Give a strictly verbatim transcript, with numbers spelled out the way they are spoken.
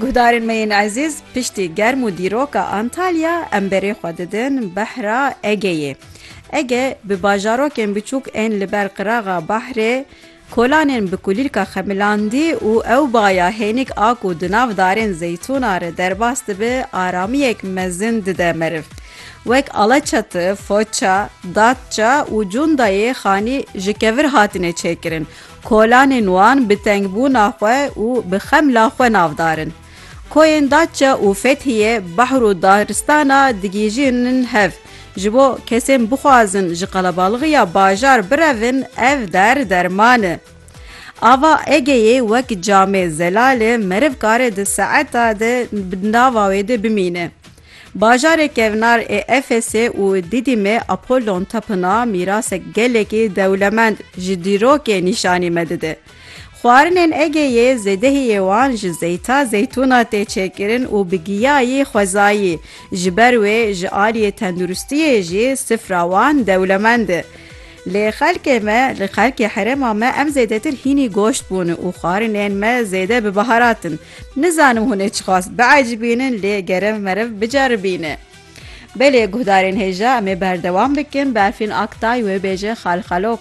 Guhdarên me yên ezîz, piştî germ û dîroka Antalya, em berê xwe didin behra Egeyê. Ege bi bajarokên biçûk ên li ber qiraxa bahrê, kolanên bi kulîlka xemilandî û ew baya hênik a ku di nav darên zeytûna re derbas dibe, aramiyek mezin dide meriv. Wek Alaçatı, Foça, Datça û Cundayê xanî ji kevir hatine çêkirin. Kolanên wan bi tengbûna xwe û bi xemla xwe navdar in. Koyên Datça û Fethiye bahr û daristana digihîjin hev. Ji bo kesên bixwazin ji qelebalixîya bajar birevin, ev der derman e. Ava Egeyê wek camê zelal e, meriv kare di saeta de bi nava wê de bimîne. Bajarê kevnar ê Efesê û Didîmê Apollon Tapınağı mîrasek gelekî dewlemend ji dîrokê nîşanî me dide. Xwarinên Egeyê zêdehiyê wan ji zeyta zeytûna tê çêkirin û bi giyayî xwezayî, ji ber wê ji aliyê tenduristiyê jî sifra wan dewlemend e. Lê xelkê me, li xelkê herêma me em zêdetir hînî goşt bûne û xwarinên me zêde bi baharat in. Nizanim hûn ê çiqas biecibînin, lê gerem meriv biceribîne. Belê guhdarên hêja, em ê berdewam bikin, Berfîn Aktay wê bêje Xalxalok.